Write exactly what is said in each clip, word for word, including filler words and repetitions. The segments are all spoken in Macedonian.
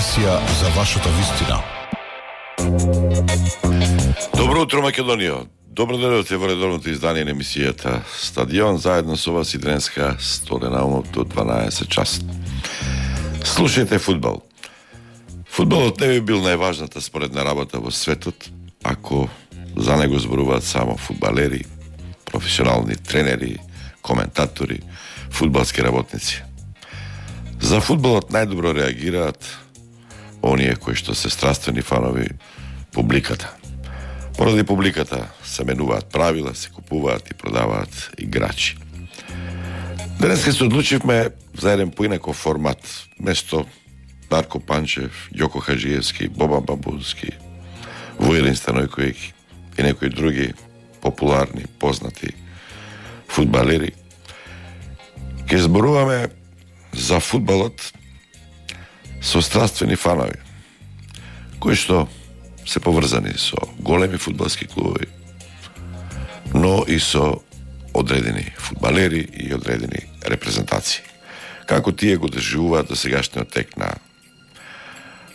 Емисија за вашата вистина. Добро утро, Македонија. Добро дојдовте во редовното издание на емисијата Стадион, заедно со вас и денеска столена умот до дванаесет часа. Слушајте фудбал. Фудбалот не би бил најважната споредна работа во светот ако за него зборуваат само фудбалери, професионални тренери, коментатори, фудбалски работници. За фудбалот најдобро реагираат оние кои што се страствени фанови публиката. Поради публиката се менуваат правила, се купуваат и продаваат играчи. Денеска се одлучивме за еден поинаков формат. Место Дарко Панчев, Јоко Хаджиевски, Бобан Бабунски, Војрин Станојковиќ и некои други популарни, познати фудбалери. Ке зборуваме за фудбалот со страствени фанови, кои што се поврзани со големи фудбалски клубови, но и со одредени фудбалери и одредени репрезентации. Како тие го доживуваат до сегашниот тек на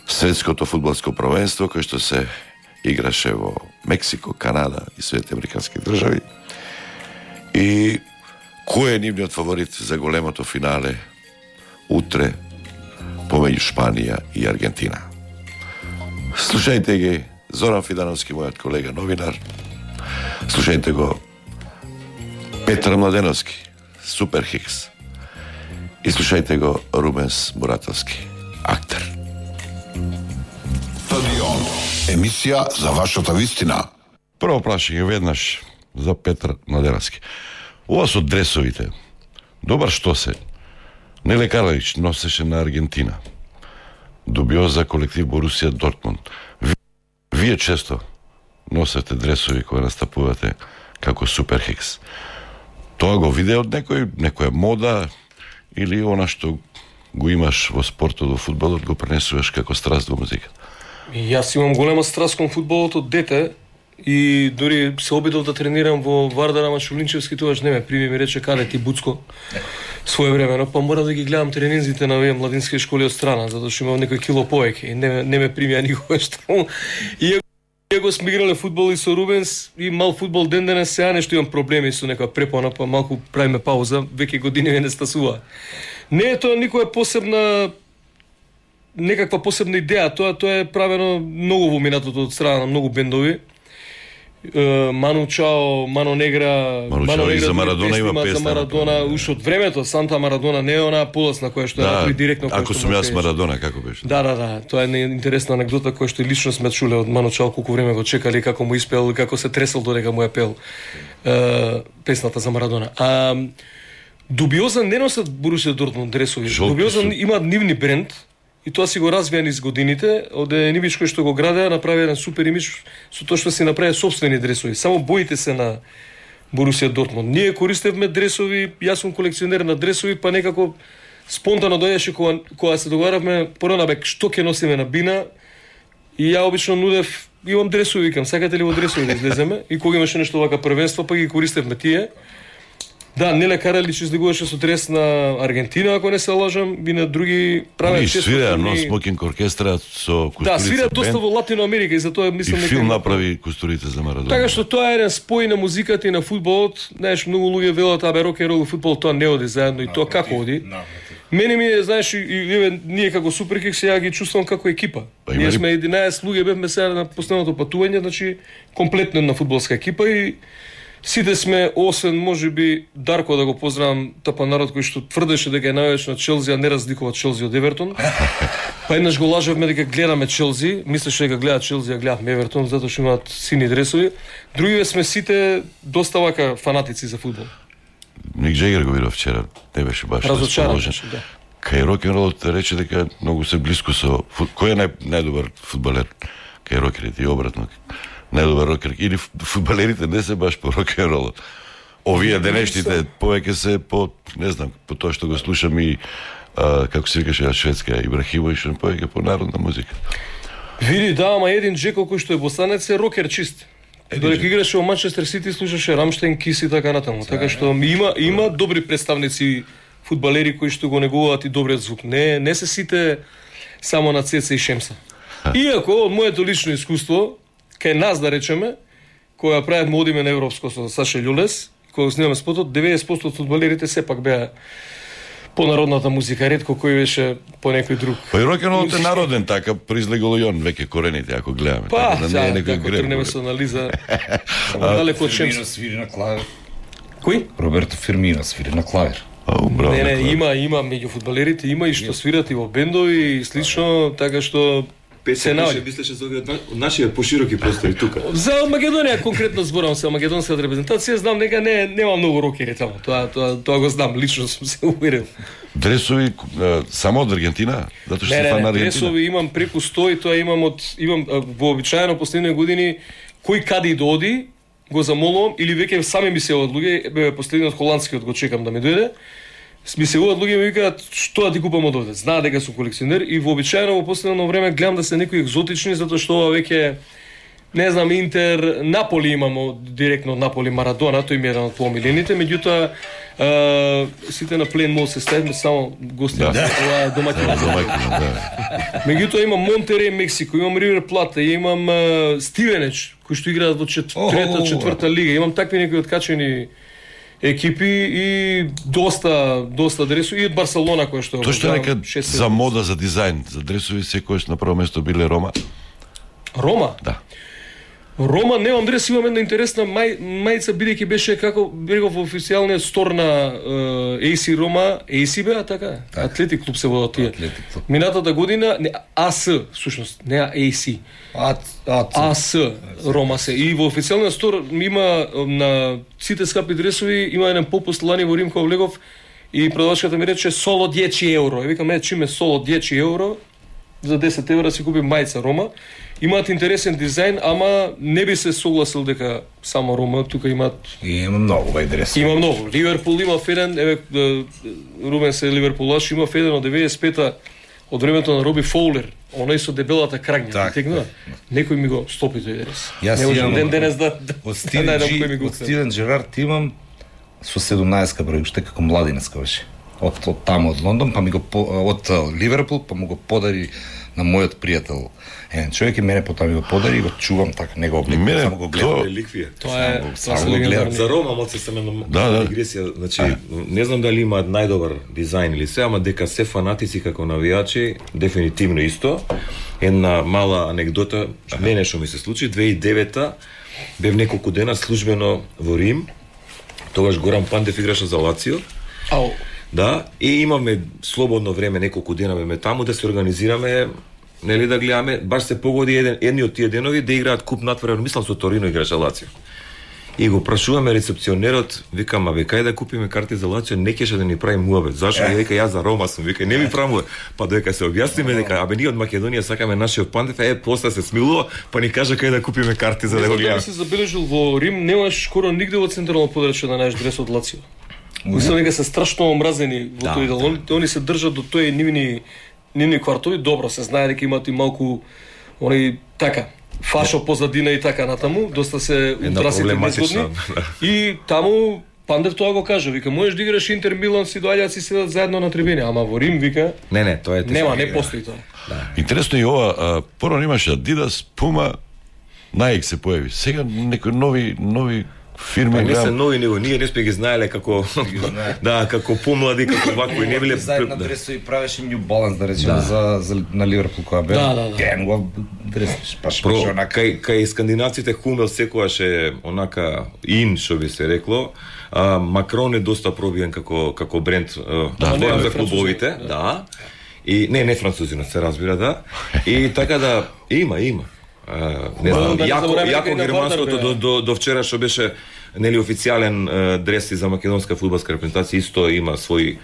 светското фудбалско првенство, кој што се играше во Мексико, Канада и Соединети Американски држави, и кој е нивниот фаворит за големото финале утре помеѓу Шпанија и Аргентина. Слушајте ги Зоран Фидановски, мојот колега новинар. Слушајте го Петар Младеновски, Супер Хикс. И слушајте го Рубенс Муратовски, актер. Стадион. Емисија за вашата вистина. Прво прашање веднаш за Петар Младеновски. Ова со дресовите. Добар што се? Неле Карлович носеше на Аргентина. Дубиоза колектив Борусија Дортмунд. Вие често носете дресови кои настапувате како Супер Хикс. Тоа го виде од некој, некоја мода или она што го имаш во спортот, во фудбалот, го пренесуваш како страст во музиката? Јас имам голема страст кон фудбалот од дете и дори се обидов да тренирам во Вардар, ама Шулинчевски тогаш не ме прими, ми рече каде ти Буцко своевремено, па мора да ги гледам тренинзите на овие младински школи од страна, затоа што имам некој кило повеќе и не, не ме примија никогаш таму. И го сме играле фудбал и со Рубенс и мал фудбал ден денес, сега нешто имам проблеми со нека препона, па малку правиме пауза, веќе години не стасува. Не е тоа никоја посебна некаква посебна идеја, тоа тоа е правено многу во минатото од страна на многу бендови. Ману Чао, Мано Негра, Ману Чао и за Марадона има песна. За Марадона уште од времето, Санта Марадона не е она полосна која што да, е директно. Ако сум јас Марадона, како беше? Да, да, да, тоа е интересна анегдота која што лично сме чуле од Ману Чао, колку време го чекали, како му испел, како се тресел додека му ја пел е, песната за Марадона. А Дубиоза не носат Борусија Дортмунд дресови. Дубиоза има нивни бренд. И тоа си го развија низ годините, од Енивич кој што го градеа, направи еден супер имидж со тоа што си направи сопствени дресови. Само боите се на Борусија Дортмунд. Ние користевме дресови, јас сум колекционер на дресови, па некако спонтано дојдеше кога, кога се договаравме порано бе што ќе носиме на бина, и ја обично нудев, имам дресови, викам, сакате ли во дресови да излеземе? И кога имаше нешто вака првенство, па ги користевме тие. Да, Неле Каралич излегуваше со дрес на Аргентина, ако не се лажам, и на други прават често. И свира, но смокинг оркестра со костурица. Да, свира доста во Латино Америка и затоа мислам дека и филм направи костурица за Марадона. Така што тоа е еден спој на музиката и на фудбалот. Знаеш, многу луѓе велат абе рок н рол и фудбал тоа не оди заедно, и тоа како оди? Мене ми е, знаеш, и, и, ние како Супер Хикс ја ги чувствувам како екипа. Па, ние сме единаесет луѓе, бевме сега на последното патување, значи комплетно една фудбалска екипа и сите сме, освен можеби Дарко, да го поздравам, тапа народ кој што тврдеше дека е највеќе на Челси, а не разликува Челси од Евертон. Па еднаш го лажевме дека гледаме Челси, мислеше дека гледа Челси, а гледавме Евертон, затоа што имаат сини дресови. Другиве сме сите доста вака фанатици за фудбал. Ник Джегер го видов вчера, не беше баш разочаран, да. Кај рок-н-ролот рече дека многу се блиску со кој е нај, најдобар фудбалер? Кај рокерите и обратно. Најдобар рокер, или фудбалерите не се баш по рок-н-ролот. Овие денешните повеќе се по, не знам, по тоа што го слушам и а, како се викаше на шведска Ибрахимович, повеќе по народна музика. Види, да, ама Един Джеко кој што е босанец е рокер чист. Додека играше во Манчестер Сити, слушаше Рамштайн, Кис и така натаму. Така што има има добри представници фудбалери кои што го негуваат и добриот звук. Не не се сите само на Цеца и Шемса. Иако од моето лично искуство, кај нас да речеме, кога правевме одиме на европско со Саша Љулес, кога снимаме спотот, деветдесет проценти од фудбалерите сепак беа по народната музика, ретко кој беше по некој друг. Па и рок-н-ролот е народен, така произлегло и он веќе корените, ако гледаме. Па, така, да, не е некој ако греб. тргнеме со анализа, далеко од Фирмино Шемса. свири на клавир. Кој? Роберто Фирмино свири на клавир. Ау, браво. Не, не, Никола. има, има меѓу фудбалерите, има и што свират и во бендови и слично, така што се Песен наоѓа. беше, мислеше за овие од на- од нашите пошироки простори тука. За Македонија конкретно зборам се, македонската репрезентација, знам дека не нема многу рокери таму. Тоа тоа тоа го знам, лично сум се уверил. Дресови е, само од Аргентина, затоа што Не, се не, фан на не, Аргентина. дресови имам преку сто и тоа имам од имам а, вообичаено последните години кој каде да оди, го замолувам или веќе сами ми се од луѓе, бе последниот холандскиот го чекам да ми дојде. Ми се од луѓе ми викаат што да ти купам од овде. Знаат дека сум колекционер и вообичаено во последно време гледам да се некои екзотични затоа што ова веќе не знам Интер, Наполи имамо директно од Наполи Марадона, тој ми е еден од помилените, меѓутоа а, сите на плен мол се ставиме само гости. Да. Ова е домаќин. Домаќина, да. Меѓутоа имам Монтереј, Мексико, имам Ривер Плата, имам uh, Стивенеч, кои што играат во чет... О, трета, четврта лига. Имам такви некои откачени екипи и доста доста дресови и од Барселона кој што Тоа што е го нека гледам, шест за седум. мода, за дизајн, за дресови секојаш на прво место биле Рома. Рома. Да. Рома немам дрес, имам една интересна мај, мајца бидејќи беше како реков официјалниот стор на uh, ей си Рома, ей си беа така? Атлетик клуб се водат тие. Атлетик клуб. Минатата година не АС, всушност, не ей си. А, а, АС Рома се. И во официјалниот стор има на сите скапи дресови има еден попуст лани во Рим кога влегов и продавачката ми рече соло десет евро. Ја викам, е, чиме соло десет евро, за десет евра си купи мајца Рома. Имаат интересен дизајн, ама не би се согласил дека само Рома, тука имаат И има многу вај дрес. има многу. Ливерпул има еден, еве е, Румен се Ливерпулаш, има еден од деветдесет и пета од времето на Роби Фоулер, оној со дебелата крагња, Так, тегнува. Некој ми го стопи тој дрес. Јас Не можам имам ден денес да да од Стивен, најдам Джи, кој ми го од отсети. Стивен Джерард имам со седумнаесет број, уште како младинеска беше. Од, од таму од Лондон, па ми го по, од а, Ливерпул, па му го подари на мојот пријател. Еден човек и мене потоа ми го подари и го чувам така, не го обликувам, Мене само го гледам. тоа- Реликвија. Тоа е Само- тоа само се го гледам. легендарни. За Рома моци се на Да, да. дигресија, значи не знам дали имаат најдобар дизајн или се, ама дека се фанатици како навијачи, дефинитивно исто. Една мала анегдота, мене што ми се случи, две тисячи и девета бев неколку дена службено во Рим. Тогаш Горан Пандев играше за Лацио. Ау, Да, и имаме слободно време, неколку дена ме таму да се организираме, нели да гледаме, баш се погоди еден едни од тие денови да играат куп натпревар, мислам со Торино играше Лацио. И го прашуваме рецепционерот, викам, абе кај да купиме карти за Лацио, не кеше да ни прави муабет. Зашо? Ја вика, јас за Рома сум, вика, не ми прави муабет. Па доека се објасниме дека абе ние од Македонија сакаме нашиот Пандев, е после се смилува, па ни кажа кај да купиме карти за не да го знам дали гледаме. се забележил во Рим, немаш скоро нигде во централно подрачје да најдеш дрес од Лацио. Мислам дека се страшно омразени во Да, тој дел. Они, они се држат до тој нивни нивни квартови, добро се знае дека имаат и малку они така фашо позадина и така натаму, доста се утрасите проблематична, незгодни. да. И таму Пандев тоа го кажа, вика, можеш да играш Интер Милан, си доаѓаат си седат заедно на трибини, ама во Рим вика, Не, не, тоа е нема, не тешко. постои тоа. Интересно и ова, а, порано имаше Adidas, Puma, Nike се појави. Сега некои нови нови фирми Па не се гледам. нови него, ние не сме ги знаеле како да, како помлади, како вакво и не биле Дизајн на дресови правеше New Balance, да речеме, за, за, на Ливерпул која бе. Да, да, да. Ген го дресиш, паш Про, паш онака. кај, кај скандинавците Хумел секогаш е онака ин, што би се рекло. А, Макрон е доста пробиен како како бренд, да, не, зборам не, за французин, клубовите, да. да. И не, не французинот се разбира, да. И така да има, има. А, не знам, да не јако, забораваме дека јако и на германското Вардар до, беа. до, до вчера што беше нели официјален е, дреси за македонска фудбалска репрезентација, исто има свој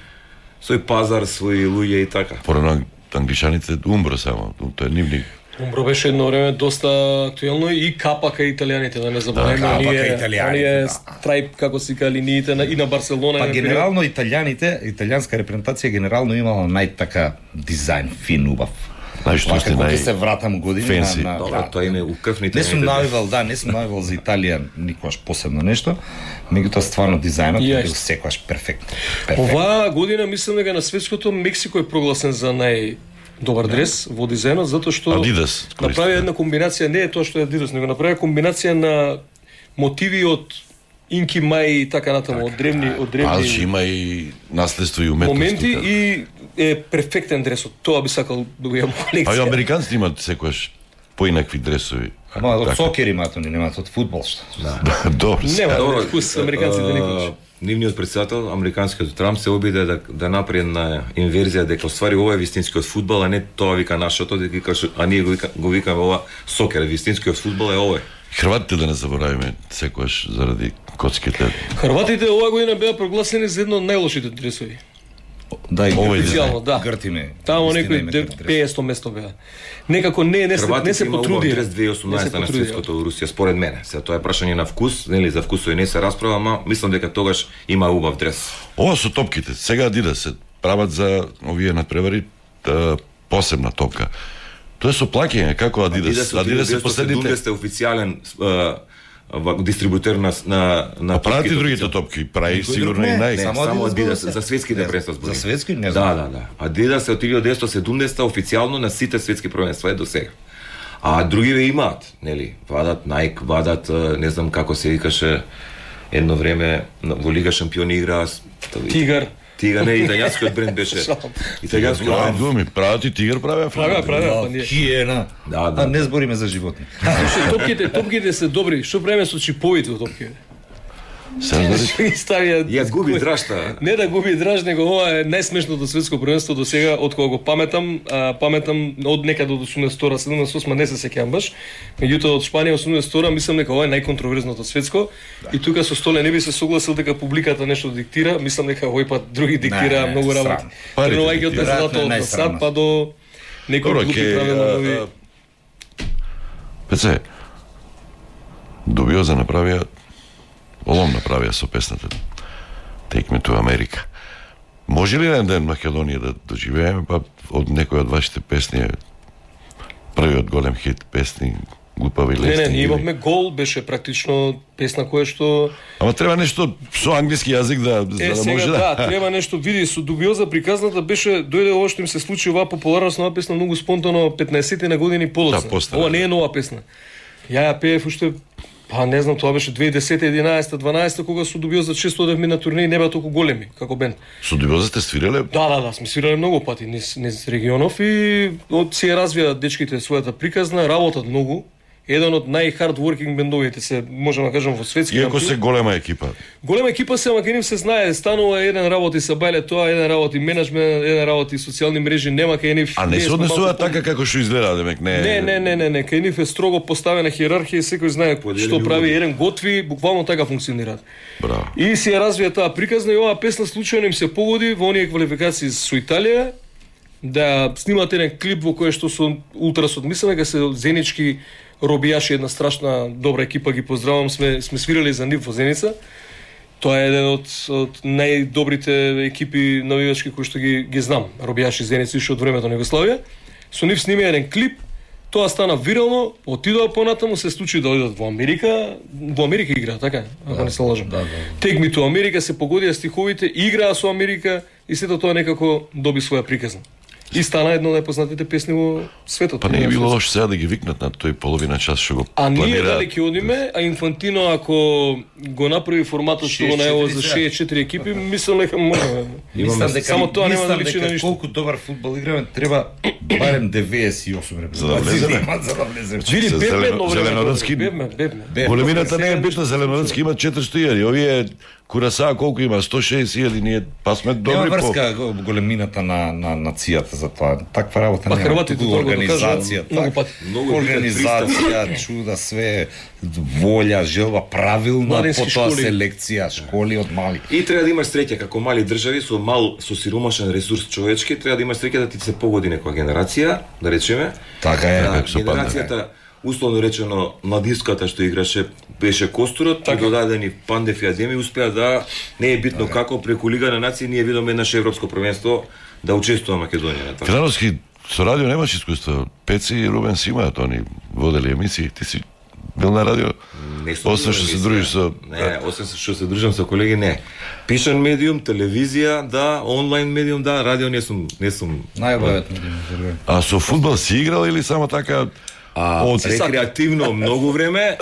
свој пазар, свои луѓе и така. Порано англичаните умбро само, тоа е нивни. Умбро беше едно време доста актуелно и капа кај италијаните, да не забораваме, капа оние, кај италијаните, оние да. страйп, како си кали ниите на, и на Барселона. Па на генерално италијаните, италијанска репрезентација генерално имала најтака дизајн фин убав. Знаеш што сте Како ќе нај се вратам години фенси. на, на Добро, тоа име у крвните. Не сум навивал, да, не сум навивал за Италија никогаш посебно нешто, меѓутоа стварно дизајнот И е ја бил исто. секогаш перфектно. Перфектно. Оваа година мислам дека на светското Мексико е прогласен за нај добар дрес, води заедно, затоа што Adidas користи, направи да. една комбинација, не е тоа што е Adidas, него направи комбинација на мотиви од Инки Мај и така натаму, од древни, од Аз древни има и наследство и уметност. моменти тука. и е перфектен дресот. Тоа би сакал да го имам А и колекција. американците имат секојаш поинакви дресови. Ама од Така. сокер имаат, они немаат од фудбал што. Да, добро. Нема Добро, вкус американците никош. а, Нивниот председател, американскиот Трамп се обиде да да направи една инверзија дека оствари ова е вистинскиот фудбал, а не тоа вика нашото, дека вика, а ние го, вика, го викаме ова сокер, вистинскиот фудбал е ова. Хрватите да не заборавиме секојаш заради коцките. Хрватите оваа година беа прогласени за едно од најлошите дресови. Да, и Овој Официјално, да. Гртиме. Тамо вистина некои име де- грт дрес. петстотно место беа. Некако не не се не Хрватите се има убав потрудија. дрес две тисячи и осумнаесета на Не се потрудија. светското во Русија, според мене. Сега тоа е прашање на вкус, нели за вкусови не се расправа, ама мислам дека тогаш има убав дрес. Ова со топките, сега Adidas се прават за овие надпревари та, посебна топка. Тоа е со плаќање, како Adidas. Adidas е последните. седумдесетте официјален а, ва- дистрибутер на на на А прават и топките. другите топки, прави сигурно и не, нај. Не, Само само, Adidas Adidas, зборува за светските Не, првенства за зборувам. светски не Да, знам. да, да. Adidas е од илјада деветстотини и седумдесета официјално на сите светски првенства е до сега. А другиве имаат, нели, вадат Nike, вадат, а, не знам како се викаше, едно време на- во Лига шампиони играа с- Тигар. Тигар, не, италијанскиот бренд беше. Италијанскиот Прават бренд. гуми, прават и тигар правеа. Правеа, правеа, па ние. Хиена. Да, да. А не збориме за животни. Слушај, топките, топките се добри. Што правиме со чиповите од топките? Се разбери. Што ги ставија? Ја губи драшта. Не да губи драж, него ова е најсмешното светско првенство до сега од кога го паметам, а, паметам од некаде од осумдесет и втора, седумдесет и осма не се сеќавам баш. Меѓутоа од Шпанија осумдесет и втора мислам дека ова е најконтроверзното светско и тука со Столе не би се согласил дека публиката нешто диктира, мислам дека овој пат други диктира не, многу работи. срам. Парите Тренувајќи од диктираат. безлато од Веројатно е сад најсрамно. па до некои Добро, глупи ке правила нови. а, а, Пеце, Дубиоза направија, Олом направија со песната Take Me to America. Може ли еден ден Македонија да доживееме, па од некој од вашите песни е првиот голем хит песни, глупави Не, лести? не, ние или- имавме гол, беше практично песна која што Ама треба нешто со англиски јазик да, Е, за да сега може да, да... треба нешто, види, со Дубиоза приказната беше, дојде ова што им се случи, оваа популарност на оваа песна многу спонтано петнаесетте на години подоцна. Да, постара, Ова не да. е нова песна. Ја ја пеев уште, па не знам, тоа беше две илјади и десета, единаесета, дванаесета, кога со Дубиоза често одевме на турнеи, не беа толку големи, како бенд. Со Дубиоза сте свиреле? Да, да, да, сме свирале многу пати низ, низ регионов и од си ја развија дечките својата приказна, работат многу. Еден од најхардворкинг бендовите се, можам да кажам, во светски Иако рамки. се голема екипа. Голема екипа се, ама кај нив се знае, станува еден работи са бајле тоа, еден работи менеджмент, еден работи социјални мрежи, нема кај нив. А не ние се сме однесуваат малку така како што изгледа, демек не. Не, не, не, не, не, кај нив е строго поставена хиерархија и секој знае Поделени што прави, улоги. еден готви, буквално така функционираат. Браво. И си ја развија таа приказна и оваа песна случајно им се погоди во оние квалификации со Италија да снимат еден клип во кој што со ултрасот, мислам дека се Зенички робијаши, една страшна добра екипа, ги поздравам, сме сме свирали за нив во Зеница. Тоа е еден од од најдобрите екипи навивачки кои што ги ги знам. Робијаши Зеница уште од времето на Југославија. Со нив снима еден клип, тоа стана вирално, отидоа понатаму, се случи да одат во Америка, во Америка играа, така, ако не се лажам. да, да. Take Me to America, се погодија стиховите, играа со Америка и сето тоа некако доби своја приказна. И стана една од најпознатите песни во светот. Па не е било лошо сега да ги викнат на тој половина час што го А ние планираат. дали ќе одиме, а Инфантино ако го направи форматот што го најава за шест четири шест четири екипи, мислам дека може. Мислам дека само тоа нема да мислам личи дека на ништо. колку добар фудбал играме, треба барем деветдесет и осум репрезентации За да влеземе. имат за да влеземе. Види, Со бевме зелено- едно време. зеленородски- Бевме, бевме. Бе, Големината не е сега битна, Зеленородски има четиристотини илјади, овие Курасаа колку има, сто и шеесет илјади, ние па сме Нема добри по... врска го- големината на, на нацијата за тоа. Таква работа Па нема. хрватите Туку тоа го организација, докажаа многу так, пати. Многу е битен организација, чуда, све, волја, желба, правилна, Младински потоа школи. селекција, школи од мали. И треба да имаш среќа како мали држави со мал со сиромашен ресурс човечки, треба да имаш среќа да ти се погоди некоја генерација, да речеме. Така е. Да, како се падне. генерацијата условно речено младиската што играше беше Костурот, така. Додадени Пандев и Адеми успеа да не е битно како преку Лига на нации ние видоме наше европско првенство да учествува Македонија на тоа. Крановски со радио немаш искуство. Пеци и Рубен си имаат, они водели емисии, ти си Бил на радио? Не сум Освен што се емисија. дружиш со... Не, освен што се дружам со колеги, не. Пишан медиум, телевизија, да, онлайн медиум, да, радио не сум, не сум. Најобавет медиум. А со фудбал си играл или само така... А Од- рекреативно многу време,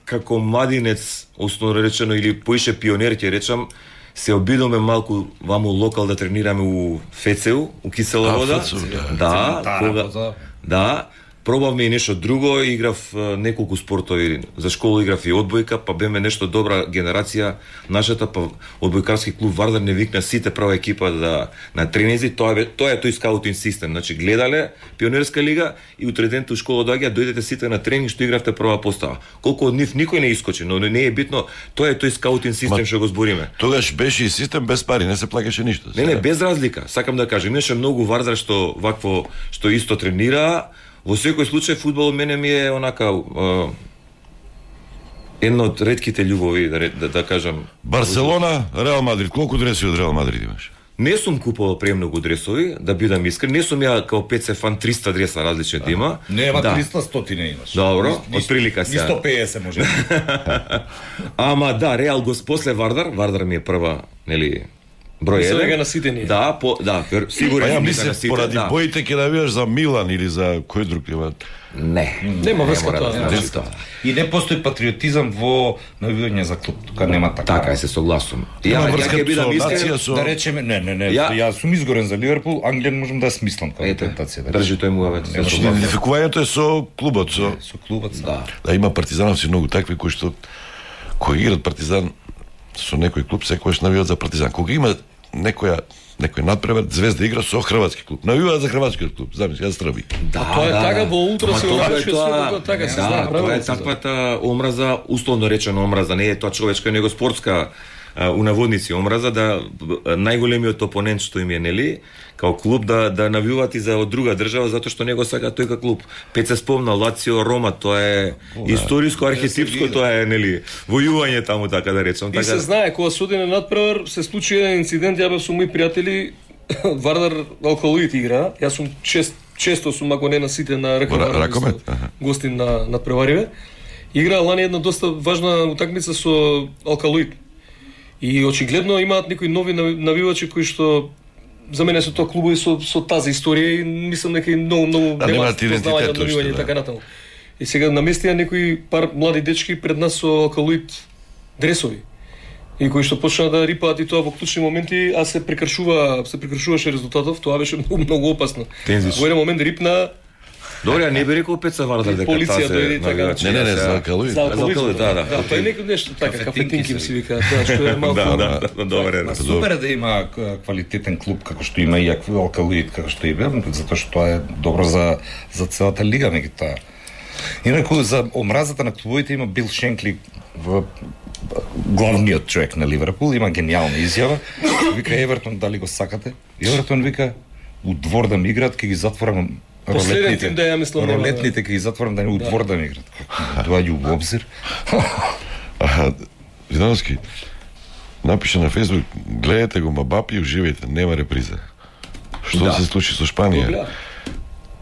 како младинец, основно речено, или поише пионер, ќе речам, се обидоме малку ваму локал да тренираме у ФЦУ, у Кисела А, вода. ФЦУ, да. Да, Цементара, кога... вода. Да, пробавме и нешто друго, играв е, неколку спортови. За школа играв и одбојка, па беме нешто добра генерација. Нашата па одбојкарски клуб Вардар не викна сите прва екипа да на тренинзи, тоа е тоа е тој скаутинг систем. Значи гледале пионерска лига и утреден у школа доаѓа, дојдете сите на тренинг што игравте прва постава. Колку од нив никој не искочи, но не е битно, тоа е тој скаутинг систем што го збориме. Тогаш беше и систем без пари, не се плаќаше ништо. Не, не, без разлика. Сакам да кажам, имаше многу Вардар што вакво што исто тренира. Во секој случај фудбалот мене ми е онака е, една од ретките љубови, да, ре- да, да кажам. Барселона, Реал Мадрид, колку дреси од Реал Мадрид имаш? Не сум купувал премногу дресови, да бидам искрен. Не сум ја као пет фан триста дреса различни да има. Нема да. триста стотини имаш. Добро, Ни- од прилика ни сега. сто педесет може. Ама да, Реал го после Вардар, Вардар ми е прва, нели, број Мислам еден. дека наситени. Да, по, да, вер- сигурен Па ја сум дека мислев, на сите, поради да. боите ќе навијаш за Милан или за кој друг има. Не. Нема врска мора тоа, да значи. значи тоа. И не постои патриотизам во навивање за клуб, тука нема така. Така е, се согласувам. Има Ја, ја врска ќе бидам со искрен, нација, со... Да речеме, не, не, не, Ја- ја сум изгорен за Ливерпул, Англија можам да ја смислам како ете, тентација. Да држи тој муавет. се Немаш согласувам. Идентификувањето е со клубот, со... со клубот. Да. Да, има партизановци многу такви кои што кои играат партизан со некој клуб секогаш навиваат за партизан. Кога има некоја некој надпревар, Звезда игра со хрватски клуб. Навиваат за хрватскиот клуб, замисли, јас Срби. Да, тоа е така во ултра Ама се тоа е обрачува тоа- свето, така се да, знае, тоа е правилно се таквата омраза, условно речено омраза, не е тоа човечка, него спортска а, у наводници омраза, да а, најголемиот опонент што им е, нели, као клуб да да навиваат и за од друга држава затоа што него сака тој како клуб. Пет се спомна Лацио, Рома, тоа е историско, архетипско, тоа е, нели, војување таму, така да речам. И се знае, кога се оди на надпревар, се случи еден инцидент, ја бев со мои пријатели, Вардар алкалоид игра, јас сум чест, често сум, ако не на сите на Ра- ракомет, ракомет, аха. гостин на надпревариве. Игра лани една доста важна утакмица со алкалоид. И очигледно имаат некои нови нави- навивачи кои што за мене се тоа клубови со со тази историја и мислам дека и многу многу Да, немаат идентитет познавање од уште, навивање и да. така натаму. И сега наместија некои пар млади дечки пред нас со алкалоид дресови. И кои што почнаа да рипаат и тоа во клучни моменти, а се прекршува, се прекршуваше резултатов, тоа беше многу многу опасно. Тензис. Во еден момент рипна Добре, а не би рекол Пеца Вардар дека Полиција таа се дојде и така. навивачи, Не, не, не, ја за сега- алкалоид. за алкалоид, алкалоид, да, да. Да, тоа е некој нешто така, Кафетинки кафетинки се се вика, тоа што е малку. Да, да, да, добре. Ма супер е да има к- квалитетен клуб како што има и акв- алкалоид како што има, затоа што тоа е добро за за целата лига меѓутоа. Инаку за омразата на клубовите има Бил Шенкли в главниот човек на Ливерпул, има гениална изјава. Вика Евертон дали го сакате? Евертон вика у двор да ми играат, ќе ги затворам Последен ролетните. тим да ја мислам нема, да. Ролетните ќе ги затворам да не у двор да ми играат. Како доаѓа у обзир? Аха, Видановски, напише на Фейсбук, гледате го Мабапи и уживајте, нема реприза. Што Да. се случи со Шпанија? Гледа.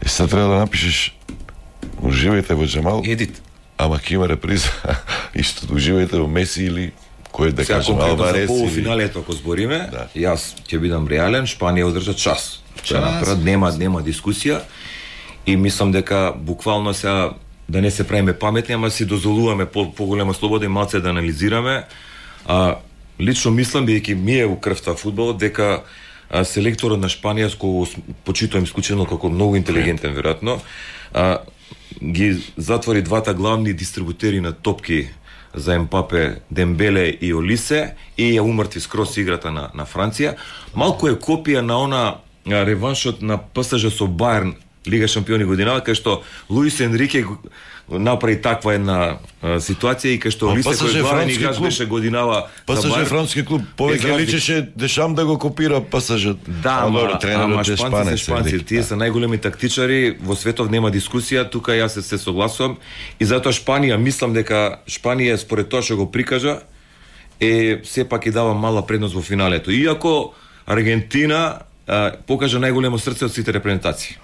И сега треба да напишеш уживајте во Джамал, Едит. ама ќе има реприза. Исто, уживајте во Меси или кој да Сега кажем конкретно за Алварес или... полуфиналето ако збориме, Да. јас ќе бидам реален, Шпанија одржа час. Тоа Час. напред нема нема дискусија и мислам дека буквално сега да не се правиме паметни, ама си дозволуваме по поголема слобода и малце да анализираме. А лично мислам бидејќи ми е у крвта фудбалот дека а, селекторот на Шпанија, с кого с- почитувам исклучено како многу интелигентен веројатно, а, ги затвори двата главни дистрибутери на топки за Емпапе, Дембеле и Олисе и ја умртви скрос играта на, на Франција. Малку е копија на она а, реваншот на ПСЖ со Баерн Лига шампиони годинава, кај што Луис Енрике го- направи таква една а, ситуација и кај што Ма, Олисе ПСЖ кој главен француски играч клуб. беше годинава за ПСЖ Баерн. француски клуб, Без повеќе разлика. личеше Дешам да го копира ПСЖ. Да, А, ама, добро, тренерот ама е шпанци се шпанец, шпанци, велики, тие да. се најголеми тактичари, во светов нема дискусија, тука јас се, се согласувам и затоа Шпанија, мислам дека Шпанија според тоа што го прикажа е сепак и дава мала предност во финалето. Иако Аргентина а, покажа најголемо срце од сите репрезентации.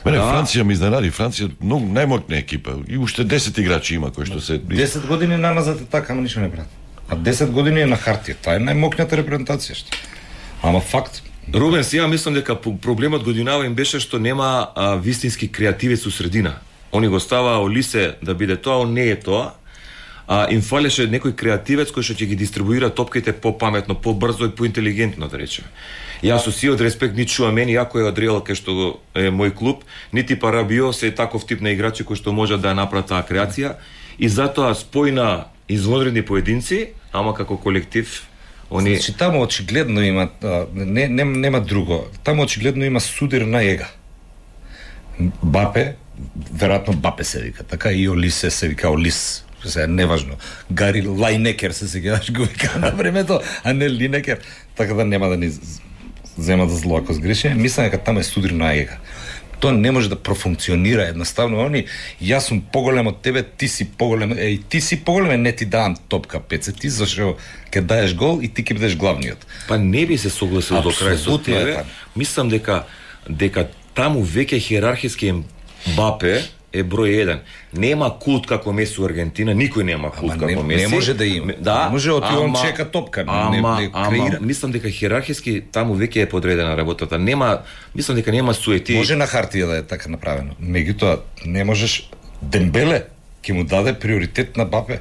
Мене Да. Франција ми изненади. Франција многу најмоќна екипа и уште десет играчи има кои што се десет години наназад е така, ама ништо не брат. А десет години е на хартија. Таа е најмокната репрезентација што. Ама факт. Рубен, ја мислам дека по- проблемот годинава им беше што нема а, вистински креативец у средина. Они го става Олисе да биде тоа, он не е тоа. А им фалеше некој креативец кој што ќе ги дистрибуира топките попаметно, побрзо и поинтелигентно, да речеме. Јас со сиот респект ни чува мене, иако е од Реал кај што е мој клуб, нити Парабио се е таков тип на играчи кои што можат да ја направат таа креација и затоа спојна извонредни поединци, ама како колектив они Значи таму очигледно има а, не, не нема друго. Таму очигледно има судир на ега. Бапе, веројатно Бапе се вика, така и Олисе се вика Олис. Се неважно. Гари Лајнекер се сеќаваш го вика на времето, а не Линекер. Така да нема да ни зема да зло ако сгрешиме. Мислам дека таму е судир на ега. Тоа не може да профункционира едноставно. Они, јас сум поголем од тебе, ти си поголем, е, и ти си поголем, не ти давам топка петдесет, ти зашто ќе даеш гол и ти ќе бидеш главниот. па не би се согласил до крај со Апсолутно е тебе. така. Мислам дека дека таму веќе хиерархиски Бапе е број еден. Нема култ како Меси у Аргентина, никој нема култ Ама не- како не Меси. може да има. Ме- Да, Не може, оти он ама- чека топка, не- ама, не ама, креира. мислам дека хиерархиски таму веќе е подредена работата. Нема, мислам дека нема суети. Може на хартија да е така направено. Меѓутоа, не можеш Дембеле ќе му даде приоритет на Бапе.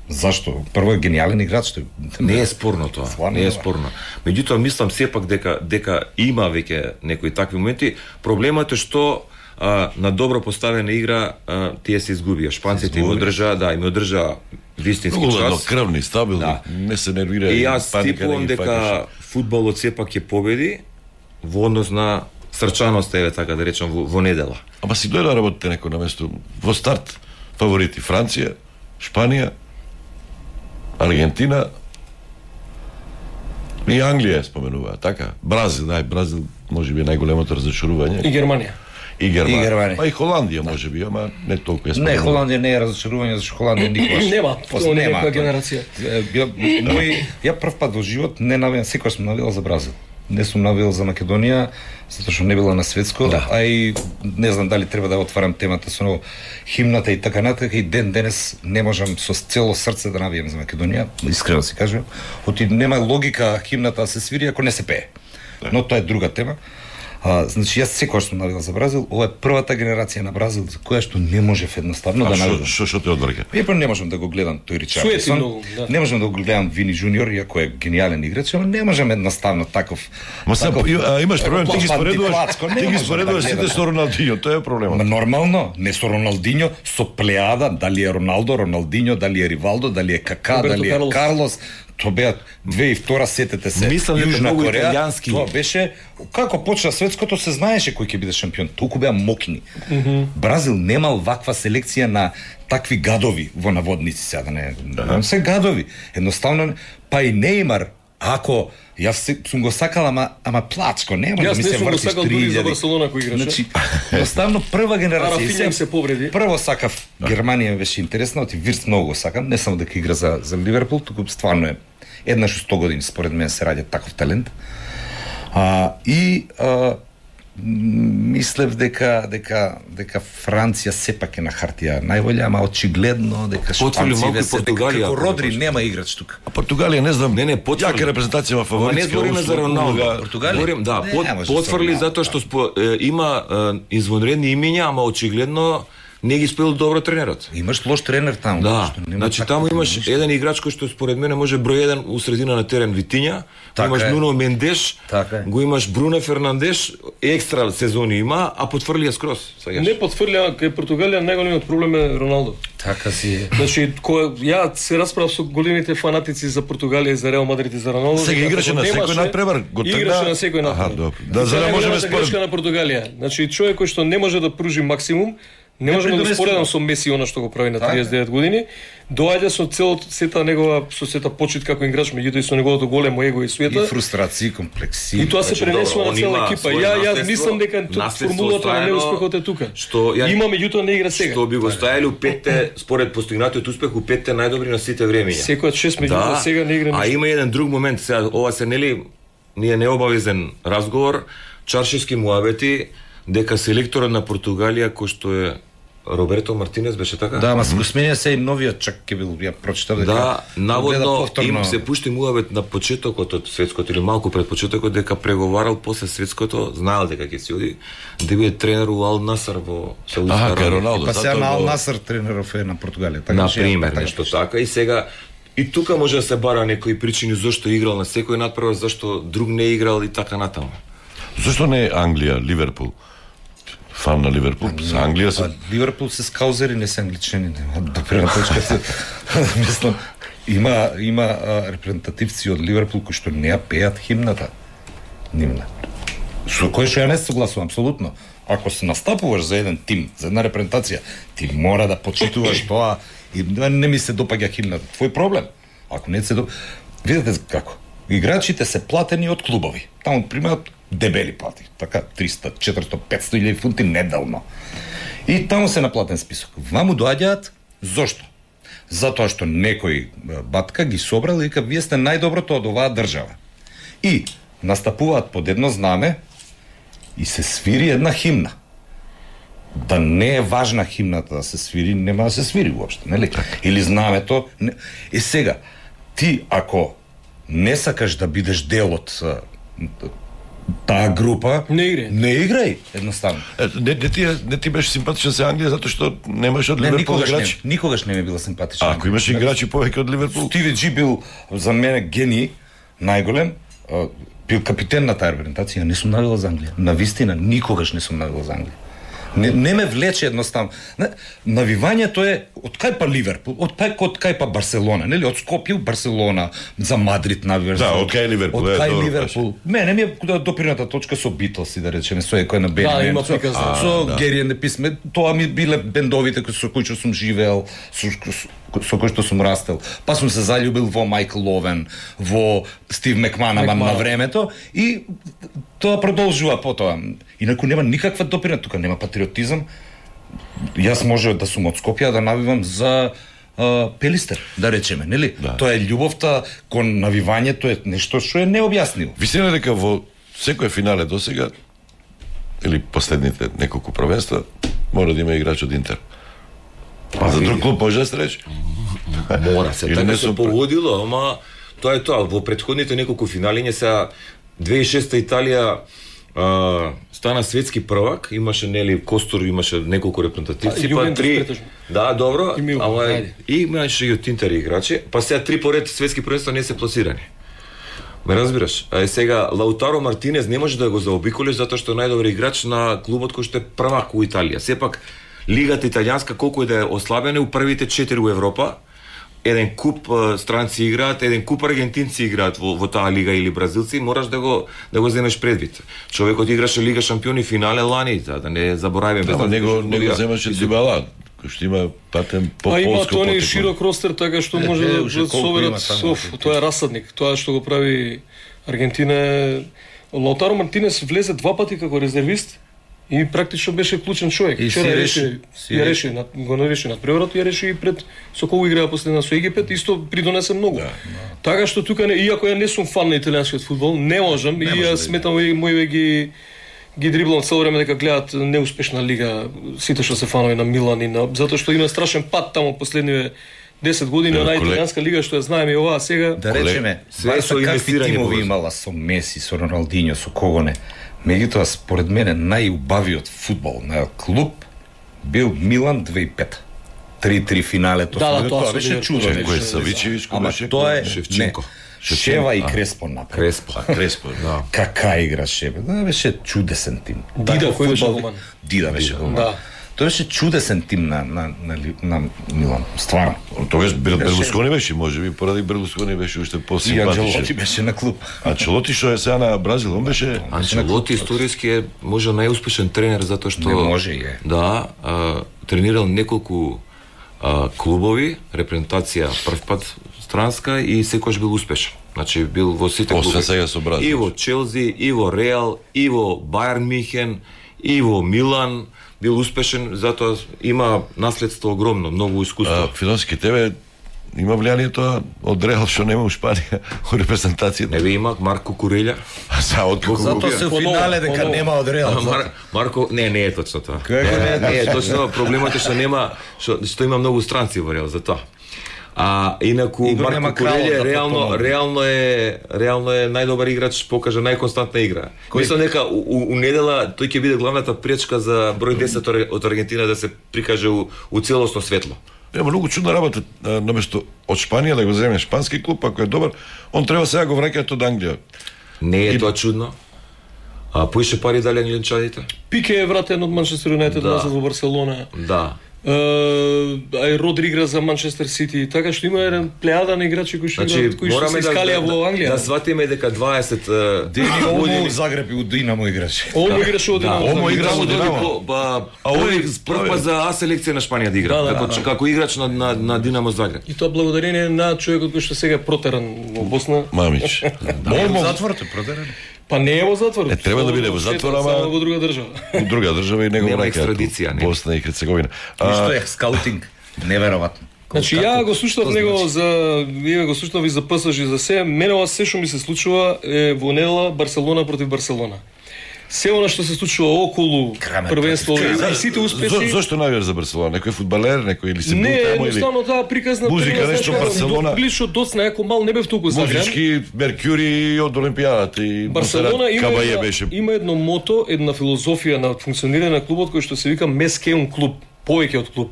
Зашто? Прво е гениален играч тој. Не е спорно тоа, Стварно не е не. спорно. Меѓутоа мислам сепак дека дека има веќе некои такви моменти. Проблемот е што а, на добро поставена игра а, тие се изгубија. Шпанците им одржаа, да, им одржаа вистински многу час. крвни, стабилни, Да. не се нервира. И јас паника типувам не ги дека фаќаш. фудбалот сепак ќе победи во однос на срчаноста, еве така да речам, во, во недела. Ама си дојде да работите некој на место. Во старт фаворити Франција, Шпанија, Аргентина и Англија споменува, така? Бразил, нај Бразил можеби е најголемото разочарување. И Германија. И Германија. И Германија. Па и Холандија можеби, ама не толку е Не, споменува. Холандија не е разочарување, зашто Холандија никогаш. Нема, После тоа не е нема. некоја генерација. Е, Ја, мој, ја прв пат во живот не навијам, секој сум навијал за Бразил. Не сум навијал за Македонија, затоа што не била на светско, Да. а и не знам дали треба да отварам темата со химната и така натака, и ден денес не можам со цело срце да навијам за Македонија, искрено си кажувам. Оти нема логика химната да се свири ако не се пее. Но тоа е друга тема. А, значи јас секогаш сум навијал за Бразил, ова е првата генерација на Бразил за која што не можев едноставно А да што навијам. што што те одврга? Ја не можам да го гледам тој Суети Ричарлисон. многу, да. Не можам да го гледам Вини Джуниор, иако е гениален играч, ама не можам едноставно таков. Ма сега таков- а, имаш таков проблем, ти ги споредуваш, антиплацко, не ти ги можам споредуваш да сите гледам. со Роналдињо, тоа е проблемот. Ма нормално, не со Роналдињо, со плеада, дали е Роналдо, Роналдињо, дали е Ривалдо, дали е Кака, Роберто дали е Карлос. Карлос. Тоа беа две и втора, сетете се. Мислам дека Јужна многу Кореја, италијански. Тоа беше како почна светското, се знаеше кој ќе биде шампион. Толку беа мокни. Бразил немал ваква селекција на такви гадови во наводници сега да не. Да. Се гадови. Едноставно па и Нејмар, ако јас се- сум го сакал, ама ама плачко, нема да Јас ми не се сум го вртиш сакал три дури за илјади. Барселона кој играше. Значи, едноставно прва генерација. Рафинја И се- им се повреди. Прво сакав Германија ми беше интересна, оти Вирц многу го сакам, не само дека игра за за Ливерпул, туку стварно е еднаш у сто години според мене се раѓа таков талент. А и а, м, мислев дека дека дека Франција сепак е на хартија најболја, ама очигледно дека Потврди малку и весе дека Португалија, како ако Родри не нема играч тука. А Португалија не знам. Не, не, потврди. Јака репрезентација во Ама фаворитска. не збориме за Роналдо. Португалија? Говорим, да, Не, под, не може потврли со Роналдо, затоа што спо, е, има е, извонредни имиња, ама очигледно не ги спел добро тренерот. Имаш лош тренер таму. Да, што нема значи таква таму тема, имаш ништо. еден играч кој што според мене може број еден у средина на терен Витиња, Така имаш е. Нуно Мендеш, Така е. го имаш Бруно Фернандеш, екстра сезони има, а потврли ја скрос. Сега. Не потврља кај Португалија најголемиот проблем е Роналдо. Така си е. Значи, кој ја се расправав со големите фанатици за Португалија и за Реал Мадрид и за Роналдо. Сега дека играше ако на немаше, секој надпревар, го тргна- Играше на секој Аха, надпревар. добро. Да, за да Тоа е можеме најголемата според- грешка на Португалија. Значи, човек кој што не може да пружи максимум, не може да го предонесува. споредам со Меси она што го прави на Така. триесет и девет години, доаѓа со целото сета негова со сета почит како играч, меѓутоа и со неговото големо его и И суета. фрустрации, комплекси. И тоа се Значи, пренесува добро, на он цела има екипа. свој Ја ја наследство, мислам дека т- наследство формулата на оставено, неуспехот е тука. што ја- Има меѓутоа не игра сега. Што би го ставили у петте, според постигнатиот успех, у петте најдобри на сите времења. Секој од шест меѓутоа сега не игра а ништо. има еден друг момент, сега ова се нели ние необавезен разговор, чаршевски муабети, дека селекторот на Португалија кој што е Роберто Мартинес беше така? Да, ама се го сменија се и новиот чак ќе бил, ја прочитав дека Да, наводно повторно... им се пушти муавет на почетокот од светското или малку пред почетокот дека преговарал после светското, знаел дека ќе се оди да биде тренер у Ал Насар во Саудитска Аха, кај Арабија. Роналдо. Па сега на Ал го- Насар тренеров е на Португалија, така На че- пример, така нешто че- така и сега и тука може да се бара некои причини зашто играл на секој надпревар, зашто друг не играл и така натаму. Зошто не е Англија, Ливерпул? Фан на Ливерпул. За Англија се... А Ливерпул се скаузери, не се англичани, нема да према точка се. Мислам, има има а, репрезентативци од Ливерпул кои што не ја пеат химната. Нивна. Со кој што ја не се согласувам апсолутно. Ако се настапуваш за еден тим, за една репрезентација, ти мора да почитуваш тоа и да не ми се допаѓа химната. Твој проблем. Ако не се до... Видете како. Играчите се платени од клубови. Таму примаат дебели плати, така триста, четиристо, петсто илјади фунти неделно. И таму се на платен список. Ваму доаѓаат зошто? Затоа што некој е, батка ги собрал и вика вие сте најдоброто од оваа држава. И настапуваат под едно знаме и се свири една химна. Да не е важна химната да се свири, нема да се свири уопште, нели? Или знамето. Не... И сега, ти ако не сакаш да бидеш дел од а, таа група, Не играј. Не играј, едноставно. Ето, не, не, ти, е- не ти беше симпатичен за Англија затоа што немаш од Не, Ливерпул никогаш не, играчи. никогаш не ми била симпатична. А, ако имаш играчи повеќе од Ливерпул, Стиви Джи бил за мене гений, најголем, а, бил капитен на таа репрезентација, не сум навила за Англија. На вистина, никогаш не сум навила за Англија. Не, не ме влече едноставно. Не, навивањето е од кај па Ливерпул, од кај, од кај па Барселона, нели? Од Скопје у Барселона, за Мадрид навиваш. Да, од кај Ливерпул, Од е, кај добро Ливерпул. Мене ми е доприната точка со Битлси, да речеме, со екој на Бени. Да, Мен, има со, приказна. со да. Гери and the Peacemen, тоа ми биле бендовите кои со кои што сум живеел, со, со, со кои што сум растел. Па сум се заљубил во Майкл Ловен, во Стив Мекманаман на времето и тоа продолжува потоа. Инаку нема никаква доприна, тука нема патриотизам. Јас може да сум од Скопје да навивам за а, Пелистер, да речеме, нели? Да. Тоа е љубовта кон навивањето е нешто што е необјаснливо. вистина дека во секој финале досега или последните неколку првенства мора да има играч од Интер. Па за друг клуб може да се рече. Мора се, Или така не се сум погодило, ама тоа е тоа. Во претходните неколку финалиња сега две тисячи и шеста Италија а, стана светски првак, имаше нели Костур, имаше неколку репрезентативци, А, па Јувентус три. претежно. Да, добро, И Милан, ама ајде. и имаше и од Интер играчи, па сега три поред светски првенства не се пласирани. Ме разбираш? А сега Лаутаро Мартинез не може да го заобиколиш затоа што е најдобар играч на клубот кој што е првак у Италија. Сепак лигата италијанска колку и да е ослабена у првите четири у Европа, еден куп а, странци играат, еден куп аргентинци играат во, во таа лига или бразилци, мораш да го да го земеш предвид. Човекот играше Лига шампиони финале лани, за да не заборавиме. Ама него него земаше Дибала, кој што има патен по А има полско тони потекло. широк ростер, така што може е, да уште да колку соверат има таму, оф, тоа е расадник. Тоа што го прави Аргентина е... Лаутаро Мартинес влезе два пати како резервист и практично беше клучен човек. И си Вчера реши, реши, си ја реши. реши, над- го нареши над превратот, ја реши и пред со кого играа последна со Египет, исто придонесе многу. Да, да. Така што тука не, иако ја не сум фан на италијанскиот фудбал, не можам и ја сметам и моје ги ги дриблам цело време дека гледаат неуспешна лига, сите што се фанови на Милан и на затоа што има страшен пат таму последниве десет години Ево, на колег- италијанска лига што ја знаеме и оваа сега. Да речеме, све Барса со какви инвестирање тимови поврзано. имала со Меси, со Роналдиньо, со кого не. Меѓутоа, според мене, најубавиот фудбал на клуб бил Милан две тисајќи и пета. три-три финалето. Да, да, со- тоа тоа со беше Ливерпул. чудо. Кој е Савичевич, кој Ама беше? тоа е Шевченко. Не, Шева и Креспо направи. Креспо. А, Креспо, да. Кака игра Шева. Да, беше чудесен тим. Дида, Таков кој беше фудбал- голман? Дида беше голман. Да. Тоа беше чудесен тим на на на, Ли- на Милан, стварно. Тогаш Бер- Берлускони беше, можеби поради Берлускони беше уште И посимпатичен. Анджелоти беше на клуб. А Челоти што е сега на Бразил, он беше Анчелоти историски е може најуспешен тренер затоа што Не може и е. Да, а, тренирал неколку а, клубови, репрезентација прв пат странска и секогаш бил успешен. Значи бил во сите Освен клубови. сега со Бразил. И во Челси, и во Реал, и во Бајерн Михен, и во Милан бил успешен, затоа има наследство огромно, многу искуство. А, философски тебе има влијанието од Реал што нема у Шпанија у репрезентацијата. Не ви има Марко Курелја. А са од Затоа се у финале дека нема од Реал. Мар, Марко, не, не е точно тоа. Како не е не е точно, проблемот е што нема што, што има многу странци во Реал за тоа. А инаку Игор Марко Курелја да реално реално е реално е најдобар играч, покажа најконстантна игра. Кој? Мислам дека у, у, у недела тој ќе биде главната пречка за број десет од Аргентина да се прикаже у, у целосно светло. Ема многу чудна работа, наместо од Шпанија да го земе шпански клуб, ако е добар, он треба сега го враќаат од Англија. Не е И... тоа чудно. А поише пари дали англичаните? Пике е вратен од Манчестер Юнайтед Да. назад во Барселона. Да. Uh, ај Родри игра за Манчестер Сити, така што има еден плејада на играчи кои што Значи, играат, кои што се искалија да, во Англија. Да сватиме дека дваесет Дени години Омо Загреб и у Динамо играше. Омо играше од Да, Динамо. Омо игра во Динамо. По- Ба, А овој прв пат за А селекција на Шпанија да игра, Да, да, како да. како играч на на, на Динамо Загреб. И тоа благодарение на човекот кој што сега е протеран во Босна. Мамич. Молмо затворот е продерен. Па не е во затвор. Е, треба да биде во затвор, ама- само во друга држава. У друга држава и него Нема враќаат у екстрадиција, нема. Босна и Херцеговина. Што А, е скаутинг? Неверојатно. Значи ја го слушнав Што него значи? за ја го слушнав и за ПСЖ и за се. Мене ова се што ми се случува е во недела Барселона против Барселона. Се она што се случува околу Крамер првенство против и сите зо, успеши. зошто навијаш за Барселона? Некој фудбалер, некој или се Не, бул таму или едноставно таа приказна музика, прва, нешто, знаеш, Барселона. Прилично доцна, ако мал не бев толку загрем. музички Меркјури од Олимпијадата и Барселона има Кабаје една, беше. има едно мото, една филозофија на функционирање на клубот кој што се вика Мескеун клуб, повеќе од клуб.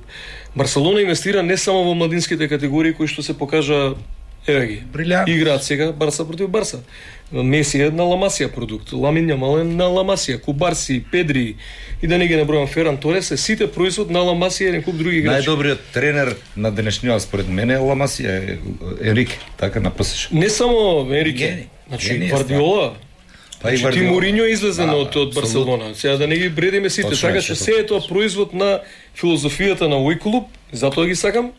Барселона инвестира не само во младинските категории кои што се покажа еве ги. Брилјант. Играат сега Барса против Барса. Меси е на Ламасија продукт, Ламин Јамал е на Ламасија, Кубарси, Педри и да не ги набројам Феран Торес, е сите производ на Ламасија и еден куп други играчи. Најдобриот тренер на денешниот според мене е Ламасија, е Енрике, така на ПСЖ. Не само Енрике, Гени. значи Гени е Гвардиола. Па и Значи, ти Гвардиола. Мориньо е излезен Да, од, од Барселона. Сега да не ги бредиме сите, Точно така е, што се се е тоа производ на филозофијата на овој клуб, затоа ги сакам.